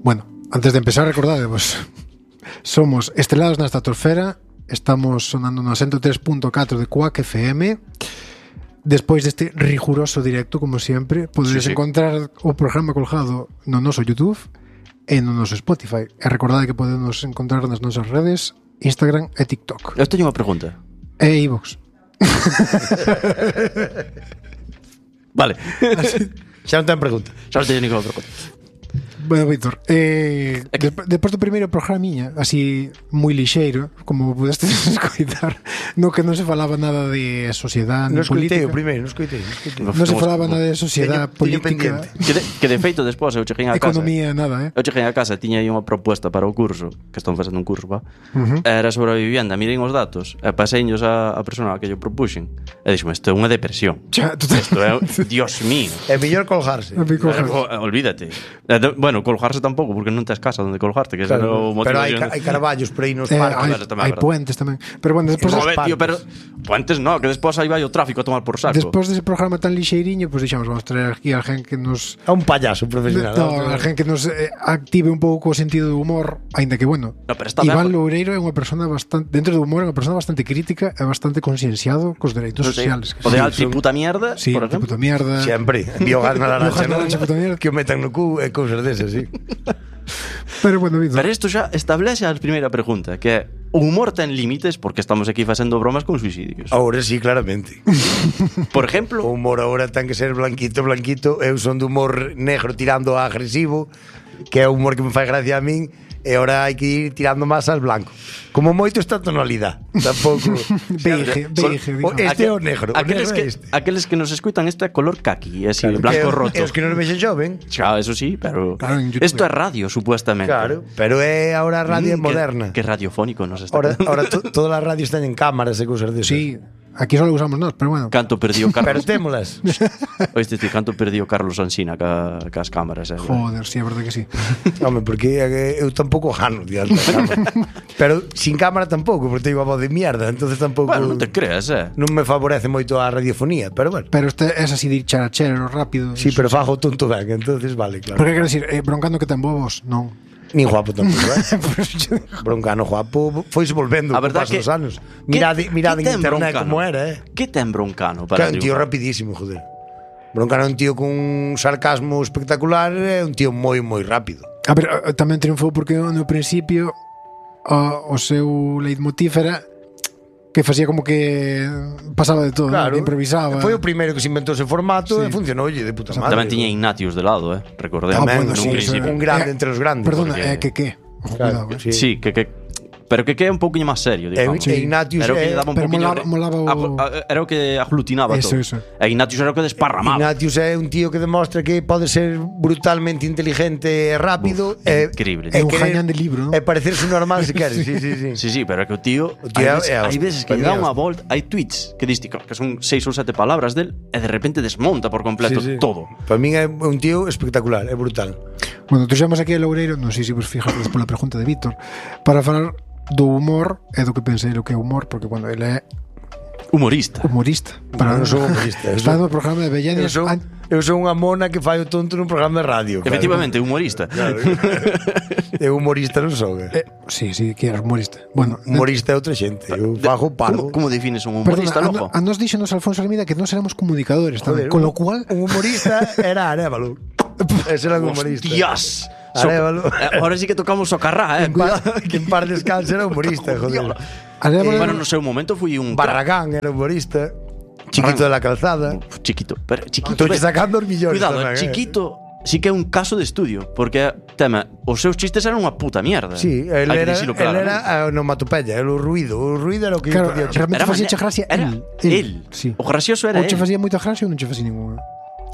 Bueno, antes de empezar, recordadevos, somos Estrelados na Estratosfera, estamos sonando no 103.4 de Quack FM. Despois deste riguroso directo, como sempre, podedes encontrar o programa colgado no noso YouTube e no noso Spotify. E recordade que podemos encontrar nas nosas redes Instagram e TikTok. Eu teño unha pregunta. E iVoox. Vale. Xa non ten pregunta. Xa non teño ninguna pregunta. Bueno, Víctor, despois do primeiro programiña, así moi lixeiro, como pudeste escoitar, no que non se falaba nada de sociedade, Non escoitei política. o primeiro, non escoitei. Non se falaba nada de sociedade, política, Que de feito, despois, eu cheguei a casa. economía, nada, Eu cheguei a casa e tiña aí unha proposta para o curso, que están facendo un curso, va? Era sobre a vivienda, mirei os datos, e paseiños a persona que yo propuxen, e dixome, isto é unha depresión. Isto é, Dios mío. É mellor colgarse. Olvídate. Bueno, colgarse tampouco, porque non tes casa onde colgarte, que Claro, o motivo. pero hai carballos por aí nos parques. hai puentes tamén. Pero bueno, despois Tío, pero puentes no, que despois aí vai o tráfico a tomar por saco. despois dese programa tan lixeiriño, pues dixamos, vamos traer aquí a alguén que nos A un payaso profesional. alguén que nos active un pouco o sentido do humor, aínda que bueno. No, pero está Iván ben. Loureiro é unha persona bastante, dentro do humor, é unha persona bastante crítica e bastante concienciado cos dereitos sociales. O de alti puta mierda, Sí, por exemplo. puta mierda. Sempre. Biogás na Biogás laranxa, na laranxa, puta mierda. que o metan no cu e cousas desas, sí. Pero bueno, Víctor. Pero isto xa establece a primeira pregunta, que é, o humor ten límites porque estamos aquí facendo bromas con suicidios. Ahora sí, claramente. Por O exemplo, humor ahora ten que ser blanquito. Eu son de humor negro tirando a agresivo, que é o humor que me fai gracia a min, e ahora hai que ir tirando máis al blanco. Como moito esta tonalidade. Tampouco. Beige, Este é o negro. O negro é este. aqueles que nos escutan, isto é color kaki, así, blanco roto. E os que non vexen xoven. Xa, eso sí, pero Claro, en YouTube. isto é radio, supuestamente. Claro, pero é ahora a radio moderna. Que radiofónico nos está. Ahora todas as radios teñen cámaras e cousas desas. Sí, aquí só lo usamos nós, pero bueno. Canto perdió Pero Carlos. témolas. Oíste, canto perdió Carlos Ansina cas cámaras, Joder, sí, é verdade que sí. Home, porque eu tampouco gano diante da cámara. Pero sin cámara tampouco, porque teño a voz de mierda, entonces tampouco. Bueno, non te creas, Non me favorece moito a radiofonía, pero bueno. Pero este es así de ir charachero, rápido. Sí, pero fago tonto ben, entonces vale, claro. Porque quero decir, broncando que ten bobos, non. Nin guapo tampouco, Broncano guapo foise volvendo A co verdad paso que- dos anos. Mirade en ten internet Broncano? como era, Que ten Broncano Que para é un tío triunfar? rapidísimo, joder. Broncano é un tío con un sarcasmo espectacular, é un tío moi rápido. A ver, tamén triunfou porque no principio o seu leitmotiv era que facía como que pasaba de todo, Claro, ¿no? Que improvisaba. Foi o primeiro que se inventou ese formato Sí. e funcionoulle de puta madre. Tamén tiña Ignatius de lado, recordemos. Tamén, nun sí, principio. un grande entre os grandes. Perdona, porque- que Ojo, Claro, cuidado, sí. Sí, pero que é un pouquiño máis serio, digamos. E Ignatius Era o que lle daba un pero pouquiño molaba o- era o que aglutinaba Eso, todo. eso. E Ignatius era o que desparramaba. Ignatius é un tío que demostra que pode ser brutalmente inteligente e rápido. Increíble. É un jañán de libro, ¿no? E parecerse normal se quere. Sí. Sí, sí, pero é que o tío, O tío é hai veces que hostia, lle dá é unha hostia. volta, hai tweets que dis que son 6 ou 7 palabras del e de repente desmonta por completo todo. Para min é un tío espectacular, é brutal. Bueno, tuxamos aquí a Loureiro, non sei se vos fijastedes pola pregunta de Víctor, para falar do humor e do que pensei o que é humor, porque, bueno, ele é Humorista. humorista. Eu non sou humorista. Está no programa de Belladias. Eu sou unha mona que fai o tonto nun programa de radio. claro. Efectivamente, humorista. Claro. Eu humorista non sou. Sí, que eres humorista. Bueno, Humorista é outra xente. Eu fago parvo. Como defines un humorista, perdona, loco? a nos díxenos Alfonso Almeida que nós éramos comunicadores tamén, Joder, con lo cual un humorista era Arévalo. Ese era un humorista. Hostias. Arévalo. Ahora sí que tocamos o carrá, Cuidado, que en par descanse era humorista, joder. Bueno, no seu momento fui un Barragán era humorista. Chiquito de la calzada. chiquito, pero chiquito. Estou sacando os millóns. Cuidado, tamén, chiquito sí que é un caso de estudio, porque tema, os seus chistes eran unha puta mierda. Sí, él Hai que era, dicilo él claramente. era a onomatopeya, o ruido era o que claro, podía realmente Era facía maña- che gracia era él. Sí. O gracioso era Ou che él. facía moita gracia ou non che facía ninguna.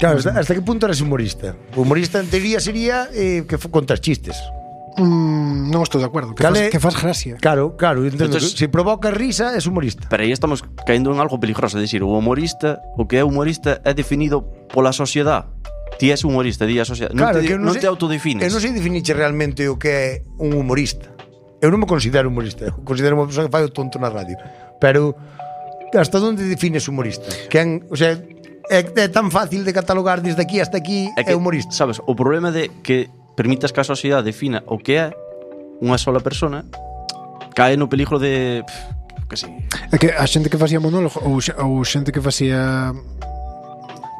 Claro, hasta que punto eres humorista? O humorista en teoría sería que contas chistes. Non estou de acordo, que faz gracia. Claro, entendo. Entonces, se provoca risa, es humorista. Pero aí estamos caendo en algo peligroso, é dicir, o humorista, o que é humorista é definido pola sociedade. Ti és humorista, di a sociedade. Claro, non te, que eu non sei- te autodefines. Eu non sei definirche realmente o que é un humorista. Eu non me considero humorista. Eu considero unha persoa que fai o tonto na radio. Pero hasta onde defines humorista? O sea, é tan fácil de catalogar desde aquí hasta aquí é humorista. Sabes, o problema de que permitas que a sociedade defina o que é unha sola persona, cae no peligro de que sí. É que a xente que facía monólogo ou xente que facía...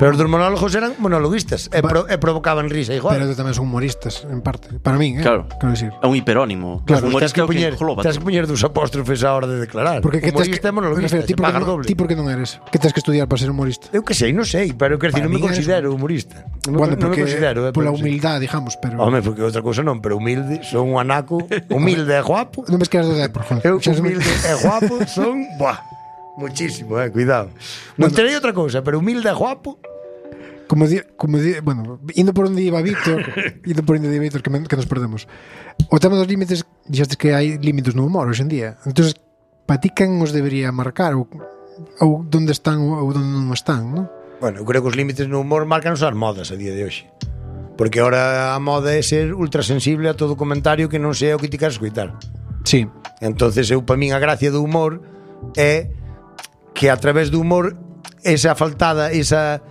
Pero os dos monólogos eran monologuistas e provocaban risa igual. Pero tamén son humoristas, en parte. Para min, Claro. Quero decir. É un hiperónimo. Claro, Un humorista é o que engloba Tens todo. que poñer dos apóstrofes á hora de declarar. Porque que tes humorista e monologuista, ti se porque paga non, doble. ti porque non eres? Que tens que estudiar para ser humorista? Eu que sei, non sei, pero quer Para decir, non me min eres considero humorista. Non Bueno, me porque considero, pola pero sí. humildade, digamos, pero... Home, porque outra cousa non, pero humilde, son un anaco, humilde e guapo. Non ves que eras do Depor, joder. Eu Xa humilde e guapo son, buah, muchísimo, cuidado. Non terei outra cousa, pero humilde e guapo. Como bueno, indo por onde iba Víctor, que nos perdemos. O tema dos límites, dixestes que hai límites no humor hoxe en día. Entonces, para ti quen os debería marcar ou onde están ou onde non están, non? Bueno, eu creo que os límites no humor marcan as modas a día de hoxe. Porque ahora a moda é ser ultrasensible a todo comentario que non sea o que ti queres escoitar. Sí. Entonces eu, para min, a gracia do humor é que a través do humor esa faltada, esa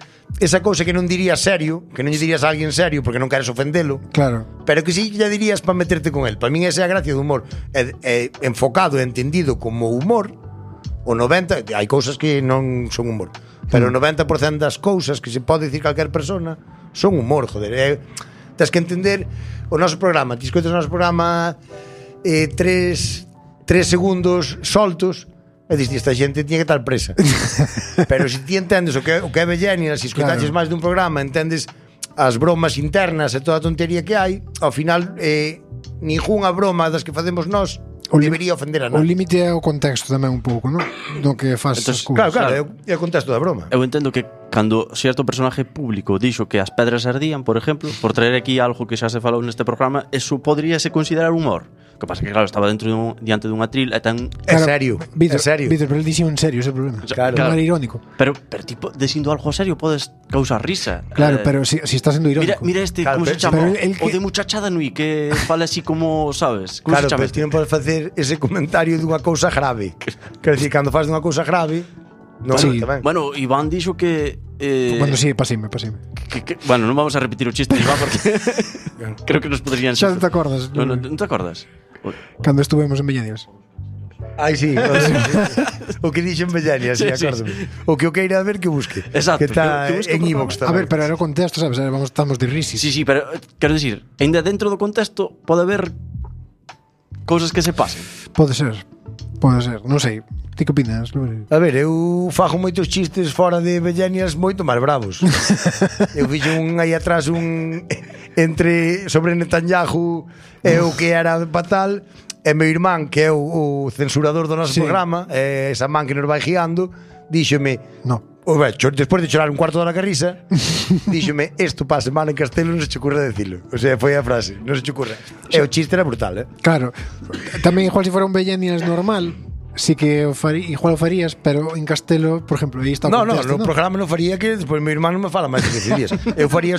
cousa que non dirías serio, que non lle dirías a alguén serio porque non queres ofendelo, Claro. pero que sí lle dirías para meterte con el. Para min esa é a gracia do humor. É enfocado e entendido como humor. O 90, hai cousas que non son humor, pero o 90% das cousas que se pode dicir calquer persona son humor, joder. Tens que entender o noso programa. Ti escoitas o noso programa 3 segundos soltos e diste, esta xente tiña que estar presa. Pero se ti entendes o que é Bellenia, se escoitaches máis dun programa, entendes as bromas internas e toda a tontería que hai, ao final ningunha broma das que facemos nós debería ofender a O nada. límite é o contexto tamén un pouco, non? Do que faz as Entonces, cousas. Claro, é o contexto da broma. Eu entendo que cando certo personaje público dixo que as pedras ardían, por exemplo, por traer aquí algo que xa se falou neste programa, eso podríase considerar humor. O que pasa que, claro, estaba diante dun atril e tan... É serio, Víctor, é serio. Víctor, pero el dixo en serio ese problema. Claro. Non era irónico. Pero tipo, dicindo algo serio podes causar risa. Claro, pero si está sendo irónico. Mira este, Claro, como se pero- chama? pero el que- O de Muchachada Nui, que fala así como, sabes? Como Claro, se chama pero este? ti non podes facer ese comentario dunha cousa grave. Quer dicir, cando faz dunha cousa grave, non Sí. tamén. Bueno, Iván dixo que... Bueno, sí, pasime. Bueno, non vamos a repetir o chiste de Iván porque creo que nos podrían... Xa non te acordas? Non te acordas? Cando estuvemos en Bellanias. Ai, sí, o que dixen Bellania, sí, Sí, sí, acórdame. O que eu queira ver que busque. Exacto, Que está que busque en por iVoox A tamén. ver, pero era o contexto, sabes? Estamos de risis. Sí, pero quero dicir, ainda dentro do contexto pode haber cousas que se pasen. Pode ser. Non sei. Ti que opinas? A ver, eu fago moitos chistes fora de Bellanias moito máis bravos. Eu fixo un aí atrás sobre Netanyahu e o que era fatal, e meu irmán, que é o censurador do noso Sí. programa, esa man que nos vai guiando, díxome, No. despois de chorar un cuarto de hora que risa, díxome, isto pasa mal en Castelo, non se che ocurre decirlo. O sea, foi a frase, non se che ocurre. E o chiste era brutal, Claro. Tamén igual se fora un Bellanias normal, sí que igual o farías, pero en Castelo, por exemplo, aí está o No, contexto, no programa non faría que despois meu irmán non me fala máis de 15 días. Eu faría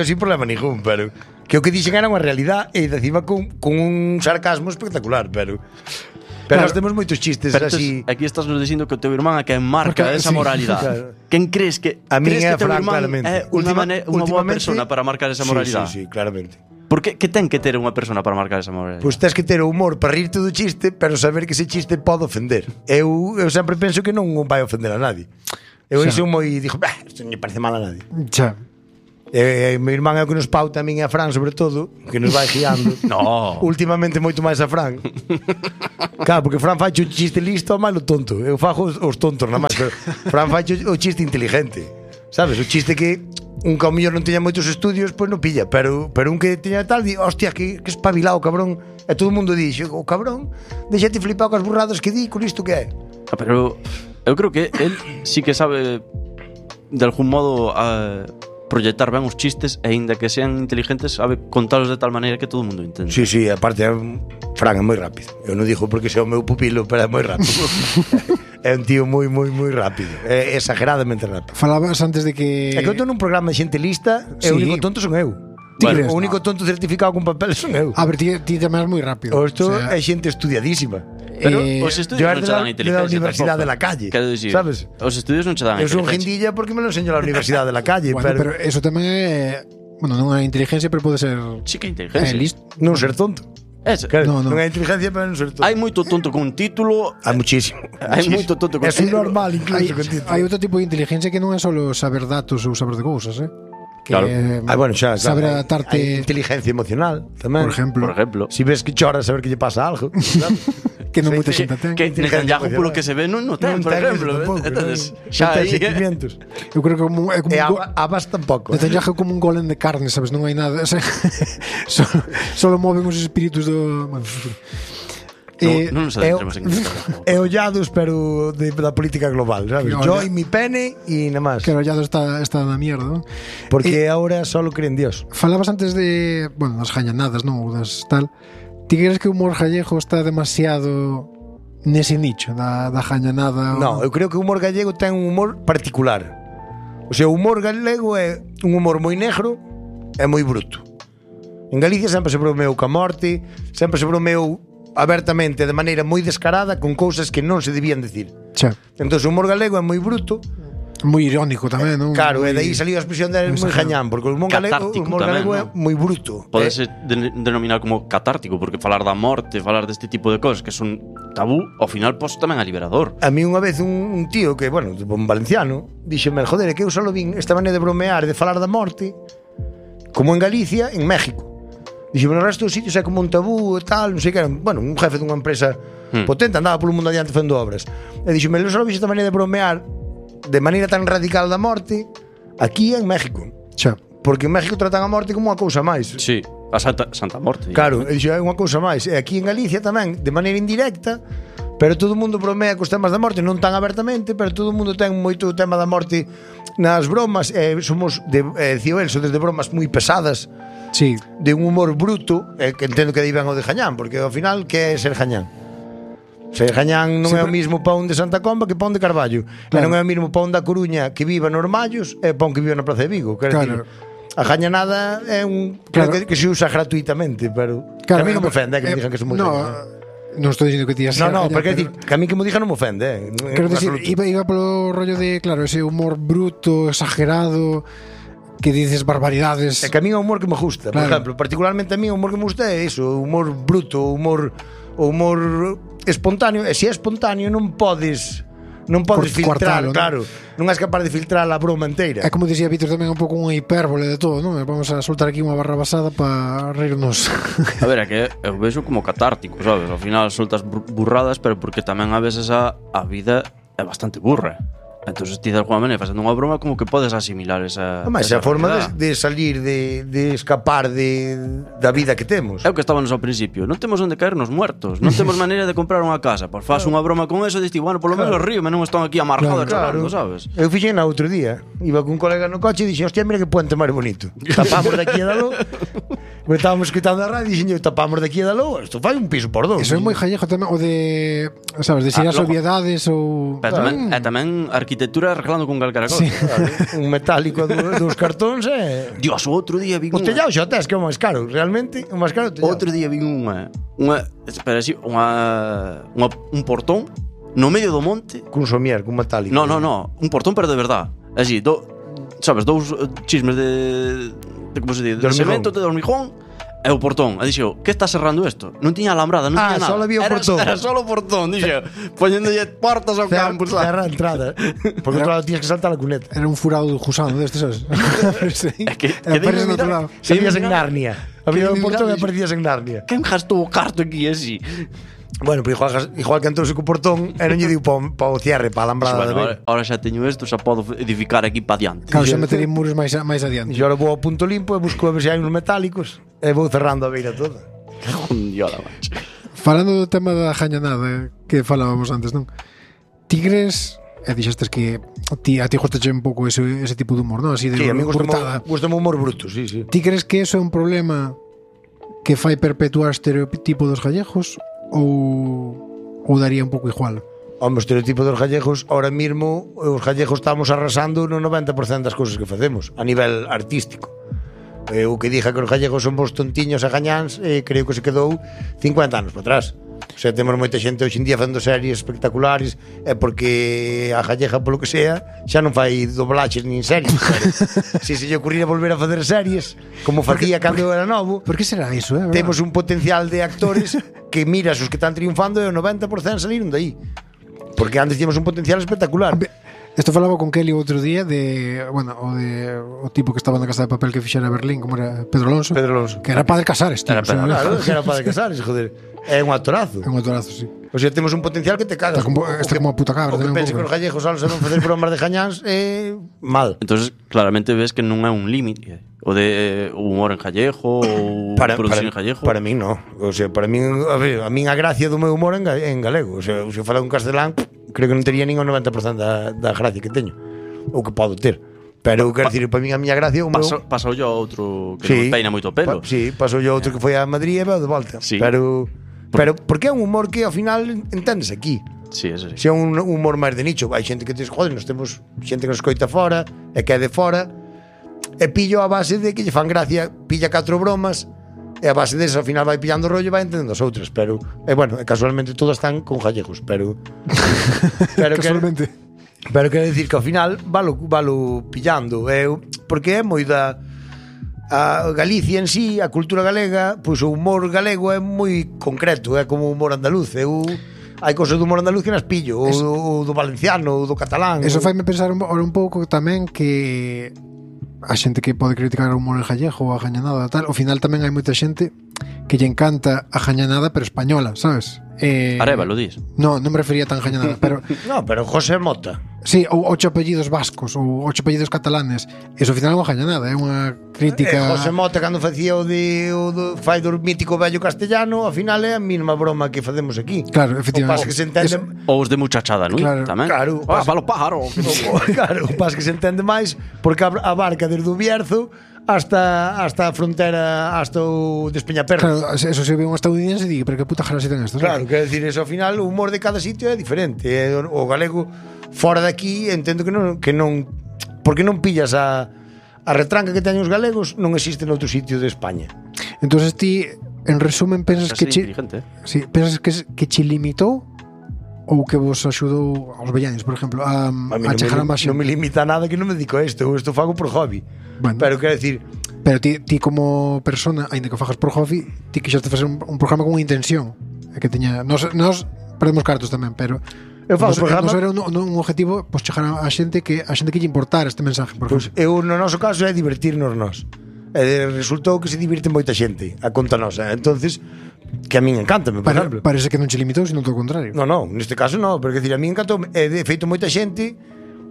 sin problema ningún, pero que o que dixen era unha realidade e encima con un sarcasmo espectacular, pero Claro. nós temos moitos chistes Pero así. aquí estás nos dicindo que o teu irmán é que marca Porque- esa sí, moralidade. claro. Quen crees que A min é teu Fran, irmán claramente. é unha boa Últimamente- persona para marcar esa moralidade? Sí, claramente. Por que ten que ter unha persona para marcar esa moralidade? Pois tens que ter o humor para rirte do chiste, pero saber que ese chiste pode ofender. Eu sempre penso que non vai ofender a nadie. Eu Xa. iso moi dixo, isto non lle parece mal a nadie. Xa. Meu irmán é o que nos pauta a min e a Fran, sobre todo, que nos vai guiando. No. Últimamente moito máis a Fran. Claro, porque Fran fai o chiste listo ou malo tonto. Eu fago os tontos nada máis, pero Fran fai o chiste inteligente. Sabes? O chiste que un que ao mellor non teña moitos estudios, pois non pilla, pero un que teña tal, di, hostia, que espabilado, cabrón. E todo o mundo di, o cabrón, deixate flipado com as burradas que di, con isto que é. Pero eu creo que él sí que sabe de algún modo proyectar ben os chistes e aínda que sean inteligentes sabe contalos de tal maneira que todo o mundo entende. Sí, sí, aparte Fran é moi rápido. Eu non digo porque sea o meu pupilo, pero é moi rápido. É un tío moi rápido. É exageradamente rápido. Falabas antes de que... É que eu estou nun programa de xente lista e o Sí. único tonto son eu. Tigres, O único tonto certificado con papel son eu. A ver, ti tamén é moi rápido. O isto O sea, é xente estudiadísima. Pero Eh, os yo estudios era non de che la- dan de la inteligencia Universidad tampouco. de la Calle, Quero dicir, ¿sabes? Os estudios non che dan Eu son inteligencia. guindilla porque me lo enseño la Universidad de la Calle, bueno, pero pero eso tamén é Bueno, non é inteligencia, pero pode ser... Sí que é inteligencia. listo. Non ser tonto. No. Non é inteligencia, pero non ser tonto. Hai moito tonto con un título. Hai muchísimo. Hai moito tonto con É normal, incluso, con título. Hai outro tipo de inteligencia que non é só saber datos ou saber de cousas, que Claro. Bueno, xa, saber hai adaptarte, inteligencia emocional tamén. por ejemplo, Si ves que chora, saber que lle pasa algo. Claro. que non Sí, moita sí. xente ten. Que Netanyahu, polo que se ve, non ten, por exemplo. Entonces, xa aí... sentimientos. Eu creo que é como E un Abbas tampouco. Netanyahu é como un golem de carne, sabes, non hai nada, o sea, solo moven os espíritus do... Non nos adentremos en isto. É ollados, pero da política global, sabes? Yo y mi pene y nada más. Que rollado está na mierda, non? Porque ahora solo creen Dios. Falabas antes de, bueno, das jañanadas, non? Ou das tal. Ti crees que o humor gallego está demasiado nese nicho da jañanada? No, eu creo que o humor gallego ten un humor particular. O sea, o humor galego é un humor moi negro e moi bruto. En Galicia sempre se bromeou ca morte, sempre se bromeou abertamente, de maneira moi descarada, con cousas que non se debían decir. Xa. Entón, o humor galego é moi bruto. Moi irónico tamén, non? Claro, moi... e daí saliu a expresión de moi jañán, porque o humor galego, Catártico é moi bruto. Podese denominar como catártico, porque falar da morte, falar deste tipo de cosas que son tabú, ao final pois tamén é liberador. A mí unha vez un tío que, bueno, un valenciano, díxeme, joder, é que eu só vin esta maneira de bromear, de falar da morte, como en Galicia, en México. Díxeme, no resto dos sitios é como un tabú e tal, non sei que era, bueno, un jefe dunha empresa potente, andaba polo mundo adiante facendo obras. E díxeme, eu só vin esta maneira de bromear de maneira tan radical da morte aquí en México. Xa. Porque en México tratan a morte como unha cousa máis. Sí, a Santa Morte. Claro, e dixo, é unha cousa máis. E aquí en Galicia tamén, de maneira indirecta, pero todo o mundo bromea cos temas da morte, non tan abertamente, pero todo o mundo ten moito tema da morte nas bromas, somos dicía el, desde bromas moi pesadas, Sí. de un humor bruto, que entendo que aí ven o de Jañán, porque ao final que é ser Jañán? Ser Jañán non é o mismo pón de Santa Comba que pón de Carballo. Claro. E non é o mismo pón da Coruña que viva nos Mallos e pón que viva na Praza de Vigo. Claro. A jañanada é un claro. que se usa gratuitamente, pero claro, a mí non me ofende que me digan que somos non estou dicindo que ti No, porque decir, que a mí que me digan non me ofende. Quero dicir, iba polo rollo de, claro, ese humor bruto, exagerado, que dices barbaridades. É que a mí é o humor que me gusta, claro. Por exemplo, particularmente a mí o humor que me gusta é iso, o humor bruto, o humor espontáneo, e se é espontáneo non podes filtrar, claro, non és capaz de filtrar a broma inteira. É como dicía Vítor tamén, un pouco unha hipérbole de todo, non? Vamos a soltar aquí unha barra basada para reírnos. A ver, é que eu vexo como catártico, sabes? Ao final soltas burradas, pero porque tamén a veces a vida é bastante burra. Entón, ti de alguma maneira facendo unha broma como que podes asimilar esa... Mas é a forma de salir, de escapar da vida que temos. É o que estábamos ao principio. Non temos onde caernos muertos. Non temos maneira de comprar unha casa. Pois faz unha broma con eso e diste, bueno, polo menos río, non están aquí amargados chorando, sabes? Eu fixen na outro día. Iba con un colega no coche e dixen, hostia, mira que puente máis bonito. Tapamos daqui a dalo. Estábamos escutando a radio e dixen, tapamos daqui a dalo. Isto fai un piso por dos. Eso é moi jallejo tamén, o de, sabes, de ser as obviedades ou... Pero tamén arquitectura arreglando con calcara cosa. Sí. Claro, un metálico dos cartóns Dios, outro día vi o tellado xa tes, que é o máis caro. Realmente, o máis caro o tellado. Outro día vi espera, así, un portón no medio do monte. Cun somier, cun metálico. No, un portón pero de verdad. Así, sabes, dous chismes de como se di, de cemento, de hormigón. E o portón, e dixo, que está cerrando isto? Non tiña alambrada, non tiña nada. Só había o portón. Era solo o portón, dixo, poñéndolle portas ao campo, cerra a entrada. Porque claro, tienes que saltar a cuneta. Era un furado de gusano deste, sabes? É que apareces no outro lado. Salías en Narnia. Había un portón e aparecías en Narnia. Quen gastou o carto aquí así? Bueno, pero igual que entrouse co portón e non lle diu pa o cierre, pa a alambrada. Ahora xa teño isto, xa podo edificar aquí pa diante. Claro, xa metería muros máis adiante. E agora vou ao punto limpo e busco a ver se hai uns metálicos e vou cerrando a beira toda. Diola, macho. Falando do tema da jañanada que falábamos antes, non? Tigres, dixestes que a ti gustache un pouco ese tipo de humor, non? Así de sí, a mí brutada. Gustame o humor bruto, sí. Ti crees que eso é un problema que fai perpetuar o estereotipo dos gallegos ou daría un pouco igual? O estereotipo dos gallegos, ahora mesmo os gallegos estamos arrasando no 90% das cousas que facemos a nivel artístico. O que diga que os gallegos somos tontiños e gañáns, creo que se quedou 50 anos para atrás. O sea, temos moita xente hoxe en día facendo series espectaculares, é porque a gallega, polo que sea, xa non fai doblaches nin series. Se lle ocurriera volver a facer series, como facía cando era novo. Por que será iso, Temos un potencial de actores que miras os que están triunfando e o 90% saliron de aí. Porque antes tínhamos un potencial espectacular. Isto falaba con Kelly outro día de, bueno, o tipo que estaba na Casa de Papel que fixera Berlín, como era Pedro Alonso. Que era Padre Casares, tío. Claro, que era Padre Casares, joder. É un actorazo. É un actorazo, sí. O sea, temos un potencial que te cagas. Está como a puta cabra. O que pense que os gallegos só non facer bromas de gañáns é mal. Entonces, claramente ves que non é un límite o de humor en gallego ou producción en gallego. Para mí non. O sea, para mí, a ver, a min a gracia do meu humor en galego. O sea, se eu falar un castelán, creo que non tería nin o 90% da gracia que teño. Ou que podo ter. Pero quero dicir, para mí a miña gracia pasou yo a outro que non peina moito pelo. Sí, pasou yo a outro que foi a Madrid e veo de volta. Sí. Pero porque é un humor que ao final entendes aquí. Sí, eso sí. Se é un humor máis de nicho, hai xente que diz, joder, nós temos xente que nos coita fora e que é de fora, e pillo a base de que lle fan gracia, pilla 4 bromas, e a base desas ao final vai pillando rollo e vai entendendo as outras, pero bueno, casualmente todas están con gallegos, pero casualmente. Pero quero dicir que ao final valo pillando, porque é moi da a Galicia en sí, a cultura galega, pois o humor galego é moi concreto, é como o humor andaluz. Hai cousas do humor andaluz que nas pillo, o do valenciano, o do catalán. Eso faime pensar un pouco tamén que a xente que pode criticar o humor en gallego ou a gañanada tal, ao final tamén hai moita xente que lle encanta a gañanada pero española, sabes? Arévalo, dis? No, non me refería tan gañanada, pero no, pero José Mota. Sí, ou 8 apellidos vascos ou 8 apellidos catalanes. Eso ao final é unha gañanada, é unha crítica. José Mota cando facía o fai do mítico vello castellano, ao final é a mesma broma que facemos aquí. Claro, efectivamente. O pas que se entende ou os de muchachada, non? Claro. Tamén. Claro, falo pájaro. Claro, o pas que se entende máis porque abarca desde o Bierzo hasta a frontera, hasta o Despeñaperro. Claro, eso se ve un estadounidense e digue, pero que puta jara se ten esto. Claro, quero decir, eso ao final o humor de cada sitio é diferente. O galego fora de aquí entendo que non porque non pillas a retranca que teñen os galegos, non existe noutro sitio de España. Entonces ti, en resumen, pensas que sí, pensas que che limitou ou que vos axudou aos vellanes, por exemplo, a chegar a máis. Non me limita nada que non me dedico a isto fago por hobby. Bueno, pero quero decir, pero ti como persona, aínda que o fagas por hobby, ti quixaste facer un programa con unha intención, que teña nos perdemos cartos tamén, pero eu fago programa, era un objetivo, pois chegar a xente que lle importar este mensaje, por exemplo. Eu no noso caso é divertirnos nós. Resultou que se divirte moita xente a conta nosa. Entonces, que a min encántame, por exemplo. Parece que non che limitou, sino todo o contrario. Non, neste caso non, porque decir, a min encantou, de feito moita xente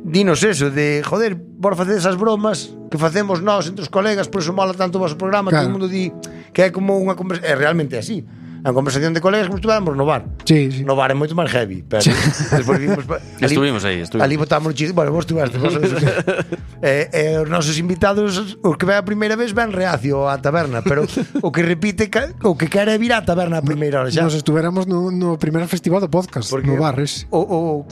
dinos eso, de joder, por facer esas bromas que facemos nós entre os colegas, por eso mola tanto o vosso programa, claro. Todo o mundo di que é como unha conversación, realmente é así. A conversación de colegas como estuvéramos no bar. Sí, sí. No bar é moito máis heavy, pero despois vimos estuvimos aí. Ali botamos o chiste, bueno, vos estuvaste, os nosos invitados, os que ven a primeira vez ven reacio á taberna, pero o que repite, o que quere vir á taberna a primeira hora xa. Nos estuveramos no primer festival do podcast, porque no bar ese. O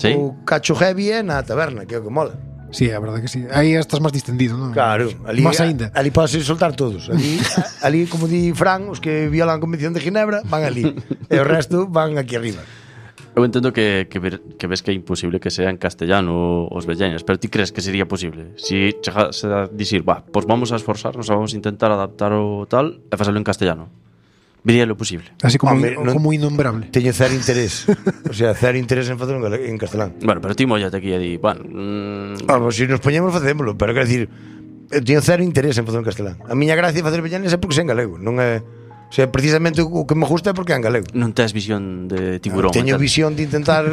cacho heavy é na taberna, que é o que mola. Sí, a verdade que sí. Aí estás máis distendido, non? Claro, ali máis aínda. Ali podes soltar todos. Ali como di Fran, os que violan a Convención de Ginebra van ali, e o resto van aquí arriba. Eu entendo que ves que é imposible que sea en castellano os velleñas, pero ti crees que sería posible? Si chegase a dicir, pois vamos a esforzarnos, vamos a intentar adaptar o tal e facelo en castellano. Viría lo posible. Así como innombrable. Teño cero interés. O sea, cero interés en facelo en castelán. Bueno, pero ti mollate aquí e di, Vamos, se nos poñemos facémolo, pero quero decir, eu teño cero interés en facelo en castelán. A miña gracia de facer vellanes é porque sei en galego, non é. O sea, precisamente o que me gusta é porque é en galego. Non tes visión de tiburón. Teño visión de intentar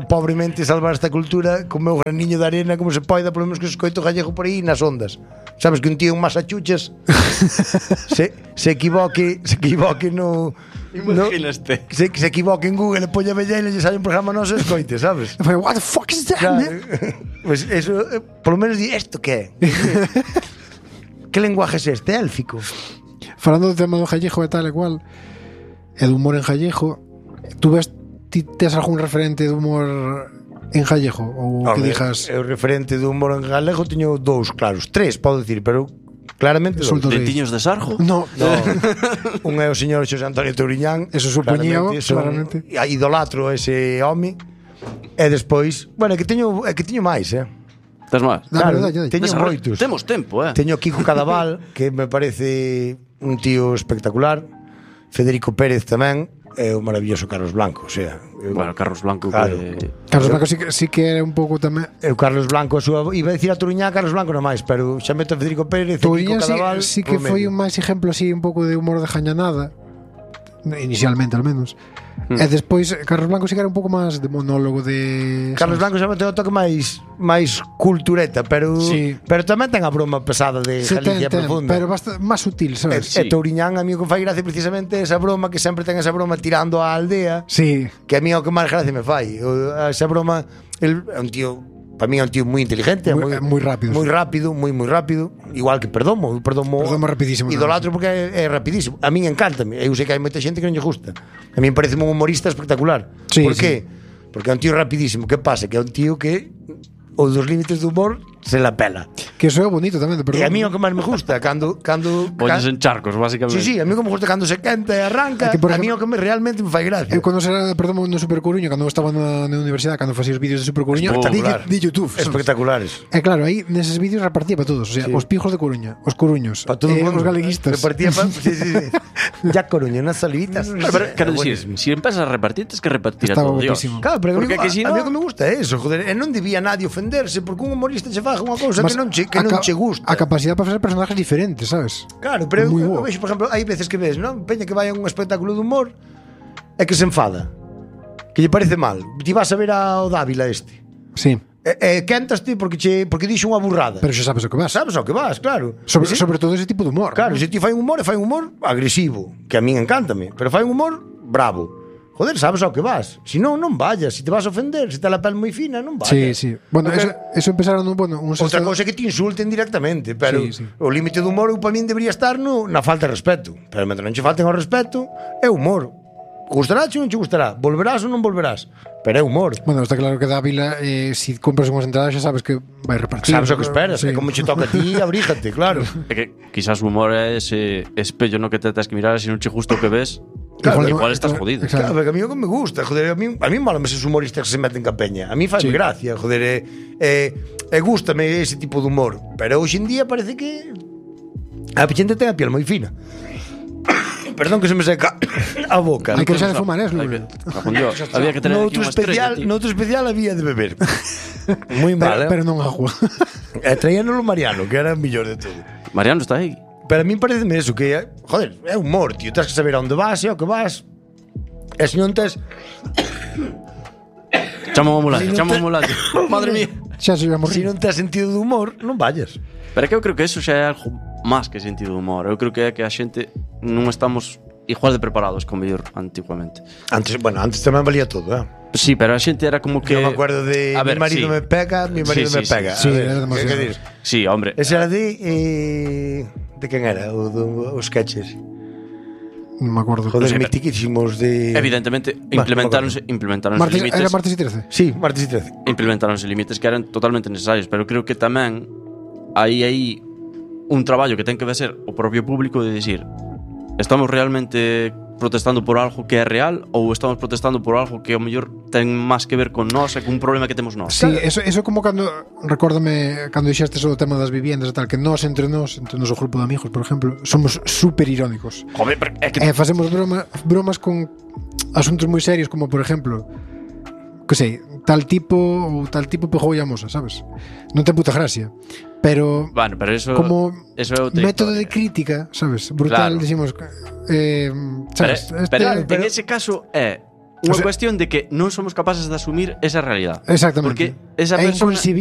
pobremente salvar esta cultura con o meu graniño de arena como se poida, por lo menos que se escoito gallego por aí nas ondas. Sabes que un tío en Massachusetts se equivoque no... Imaginaste. Se equivoque en Google e poña vellena e lle sale un programa noso e escoite, sabes? What the fuck is that, man? Pues eso, por lo menos di, ¿esto qué? Que lenguaje é este? Élfico? Falando do tema do gallego e tal e cual, e do humor en gallego, ti tes algún referente de humor en gallego? Ou que dixas... O referente do humor en galego teño 2, claros, 3, podo dicir, pero Claramente dous. Dentiños de sarjo? No, Un é o señor Xosé Antonio Touriñán. Eso supoñía, claramente. Idolatro ese home. E despois, bueno, é que teño máis, Tes máis? Claro, teño moitos. Temos tempo, Teño Kiko Cadaval, que me parece un tío espectacular. Federico Pérez tamén. E o maravilloso Carlos Blanco, o sea, Bueno, Carlos Blanco claro. Carlos Blanco sí que era un pouco tamén. O Carlos Blanco, iba a decir a Touriñán, Carlos Blanco non máis, pero xa meto a Federico Pérez, Touriñán Kiko Cadaval. sí que foi un máis exemplo así un pouco de humor de jañanada, inicialmente al menos. E despois Carlos Blanco sí que era un pouco máis de monólogo de Carlos Blanco xa meteu o toque máis cultureta, pero tamén ten a broma pesada de Galicia profunda. Pero máis sutil, sabes? E Touriñán a mí o que fai gracia precisamente esa broma, que sempre ten esa broma tirando á aldea. Sí. Que a mí é o que máis gracia me fai. Esa broma, el é un tío, para mí é un tío moi inteligente, moi rápido. Moi rápido, moi rápido, igual que Perdomo rapidísimo. Idolatro porque é rapidísimo. A min encántame. Eu sei que hai moita xente que non lle gusta. A min parece un humorista espectacular. Sí, Por qué? Porque é un tío rapidísimo. Que pasa? Que é un tío que os dos límites do humor se la pela. Que eso é bonito tamén de Perdomo. E a mí o que máis me gusta cando Poñes en charcos, básicamente. Sí, a mí o que me gusta cando se quenta e arranca. A mí o que realmente me fai gracia. Eu cando será de Perdomo no Super Coruño, cando estaba na universidade, cando facía os vídeos de Super Coruño, de YouTube. Espectaculares. E claro, aí neses vídeos repartía para todos, o sea, os pijos de Coruña, os coruños, para todos os galeguistas. Repartía para ya Coruña, unas salivitas. Quero dicir, si empezas a repartir, tens que repartir a todo Dios. Claro, pero porque a mí o que me gusta é eso, joder, e non debía nadie ofenderse porque un humorista che faga unha cousa que non che gusta. A capacidade para facer personajes diferentes, sabes? Claro, pero eu vexo, por exemplo, hai veces que ves, non? Peña que vai a un espectáculo de humor e que se enfada, que lle parece mal. Ti vas a ver ao Dávila este. Sí. E quentaste porque dixo unha burrada. Pero xa sabes o que vas. Sabes o que vas, claro. Sobre todo ese tipo de humor. Claro, se ti fai un humor agresivo, que a min encántame, pero fai un humor bravo. Joder, sabes ao que vas. Si non vayas. Si te vas a ofender, se te la pel moi fina, non vayas. Sí. Bueno, eso empezaron outra cousa é que te insulten directamente, pero o límite do humor para min debería estar na falta de respeto. Pero mentre non che falten ao respeto, é humor. Gustará ou non che gustará? Volverás ou non volverás? Pero é humor. Bueno, está claro que Dávila, si compras unhas entradas xa sabes que vai repartir. Sabes o que esperas, é como che toca a ti, abríjate, claro. É que quizás o humor é ese espello no que te tens que mirar, se non che gusta o que ves, igual estás jodido. Claro, porque a mí o que me gusta, joder, a mí malame esos humoristas que se meten ca peña. A mí fai gracia, joder, gústame ese tipo de humor, pero hoxe en día parece que a xente ten a piel moi fina. Perdón que se me seca a boca. Hai que deixar de fumar, había que tener aquí unha estrella. Noutro especial había de beber. Moi mal, pero non agua. E traíanolo Mariano, que era o mellor de todo. Mariano está aí. Pero a mí pareceme eso, que joder, é humor, tío, tens que saber a onde vas e ao que vas. E se non tes Chama unha ambulancia. Madre mía. Xa se vamos. Se non tes sentido de humor, non vayas. Pero é que eu creo que eso xa é algo máis que sentido de humor. Eu creo que é que a xente non estamos igual de preparados como mellor antiguamente. Antes tamén valía todo, Sí, pero a xente era como que... Eu me acuerdo de mi marido me pega. Sí, era demasiado. Sí, hombre. Ese era de quen era? Os sketches. Non me acordo. Joder, mitiquísimos de... Evidentemente, implementaronse límites. Era martes e 13? Sí, martes e 13. Implementaronse límites que eran totalmente necesarios, pero creo que tamén hai un traballo que ten que ser o propio público de decir, estamos realmente protestando por algo que é real ou estamos protestando por algo que ao mellor ten máis que ver con nós e con un problema que temos nós. Sí, eso como cando recórdame cando dixestes o tema das viviendas e tal, que nós entre o grupo de amigos, por exemplo, somos super irónicos. Joder, pero é que facemos bromas con asuntos moi serios, como por exemplo, que sei, tal tipo pegou a moza, sabes? Non ten puta gracia. Pero eso como eso é método de crítica, sabes? Brutal, claro. Decimos, sabes? Pero en ese caso é unha cuestión de que non somos capaces de asumir esa realidade. Exactamente. Porque esa persona